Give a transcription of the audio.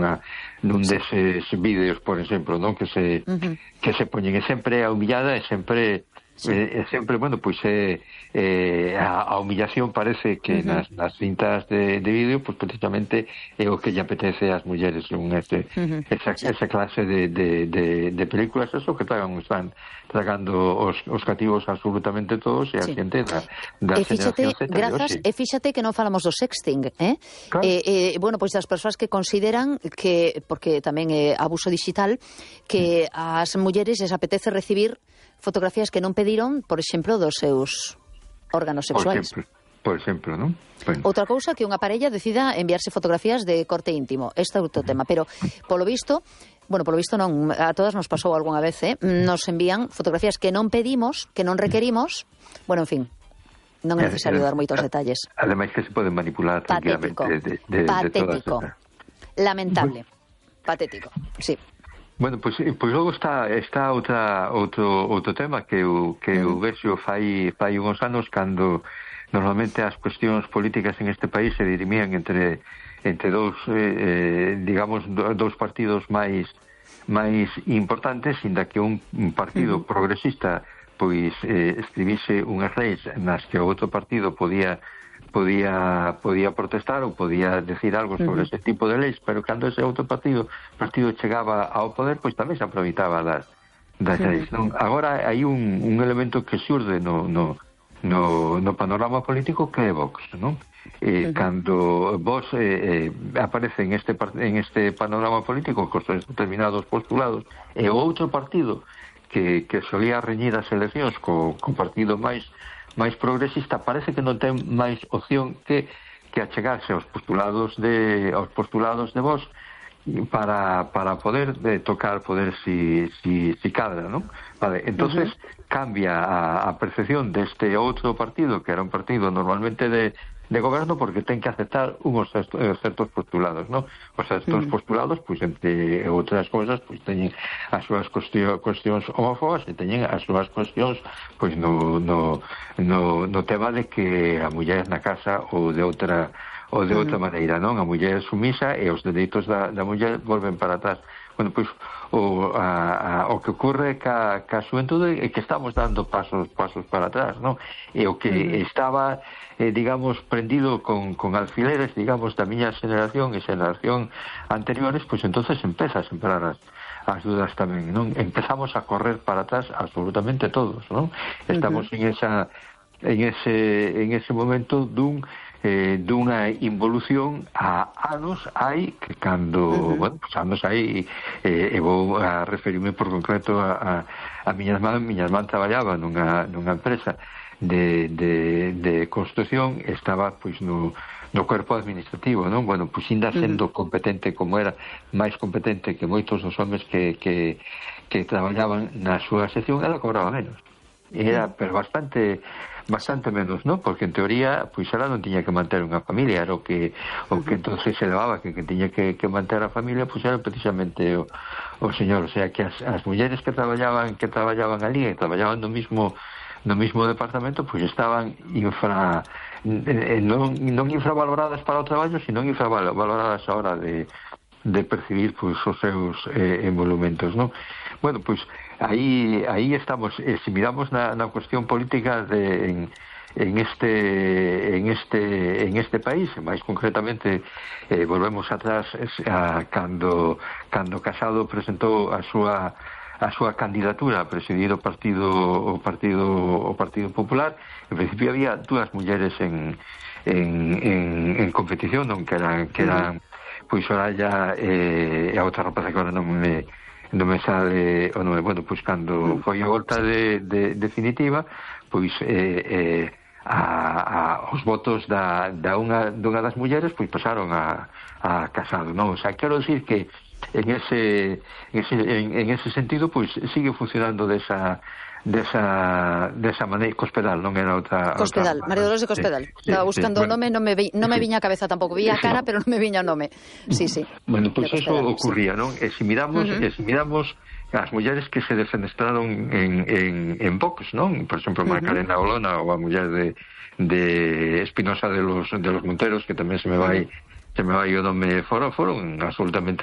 nun deses vídeos, por exemplo, non? Que se poñen, e sempre a humillada, e sempre bueno, pois a humillación parece que nas cintas de vídeo, pois precisamente é o que lle apetece ás mulleres esa clase de películas, eso que están tragando os cativos absolutamente todos, e a xente da xeración Z. E fíxate que non falamos do sexting, Claro. Bueno, pois das persoas que consideran que, porque tamén é abuso digital, que ás mulleres les apetece recibir fotografías que non pediron, por exemplo, dos seus órganos sexuais. Por exemplo, non? Bueno. Outra cousa que unha parella decida enviarse fotografías de corte íntimo. Este é outro tema, pero polo visto non, a todas nos pasou algunha vez, nos envían fotografías que non pedimos, que non requerimos, bueno, en fin, non é necesario dar moitos detalles. Ademais que se poden manipular tranquilamente patético, lamentable, patético, sí. Bueno, pois logo está outro tema que eu vexo fai uns anos, cando normalmente as cuestións políticas en este país se dirimían entre dous, digamos, dous partidos máis importantes, inda que un partido progresista pois escribise unhas leis nas que o outro partido podía protestar ou podía decir algo sobre ese tipo de leis, pero cando ese outro partido chegaba ao poder, pois tamén se aproveitaba das leis, non? Agora hai un elemento que xurde no panorama político, que é Vox, non? Cando Vox aparece en este panorama político con determinados postulados, e o outro partido que solía reñir as eleccións co partido máis progresista, parece que non ten máis opción que achegarse aos postulados de Vox para poder tocar poder si cadra, non? Vale, entonces cambia a percepción deste outro partido, que era un partido normalmente de goberno, porque ten que aceptar unhos certos postulados, non? Os certos postulados, pois, entre outras cousas, pois teñen as súas cuestións homófobas, e teñen as súas cuestións, pois, no tema de que a muller na casa ou de outra maneira, non? A muller sumisa, e os dereitos da muller volven para atrás. Bueno, pois o que ocorre ca xuventude é que estamos dando pasos para atrás, non? E o que estaba, digamos, prendido con alfileres, digamos, da miña xeración e xeración anteriores, pois entonces empeza a sembrar as dudas tamén, non? Empezamos a correr para atrás absolutamente todos, non? Estamos en ese momento dunha involución a anos hai, que cando, bueno, pues anos hai, e vou a referirme por concreto a miña irmán traballaba nunha empresa de construcción, estaba pois no corpo administrativo, non? Bueno, pois ainda sendo competente, como era máis competente que moitos dos homes que traballaban na súa sección, ela cobraba menos. Era, pero bastante menos, non? Porque en teoría, pois ela non tiña que manter unha familia, era o que entonces se levaba, que tiña que manter a familia, pois era precisamente o señor. O sea, que as mulleres que traballaban ali, e traballaban no mismo departamento, pois estaban non infravaloradas para o traballo, sino infravaloradas a hora de percibir pois os seus emolumentos, non? Bueno, pois aí estamos. Se miramos na cuestión política en este país, máis concretamente volvemos atrás cando Casado presentou a súa candidatura a presidir o Partido Popular. En principio había dúas mulleres en competición, non? Que eran pois Soraya e a outra rapaza que agora non me sale o nome. Bueno, pois cando foi a volta definitiva, pois os votos dunha das mulleres pois pasaron a Casado, non? O sea, quero dicir que en ese sentido pois sigue funcionando desa maneira. Cospedal, non era outra... Cospedal, María Dolores de Cospedal. Estaba buscando o nome, non me viña a cabeza tampouco. Vi a cara, pero non me viña o nome. Sí. Bueno, pois eso ocurría, non? E se miramos as mulleres que se defenestraron en Vox, non? Por exemplo, Macarena Olona, ou a muller de Espinosa de los Monteros, que tamén se me vai o nome, foron absolutamente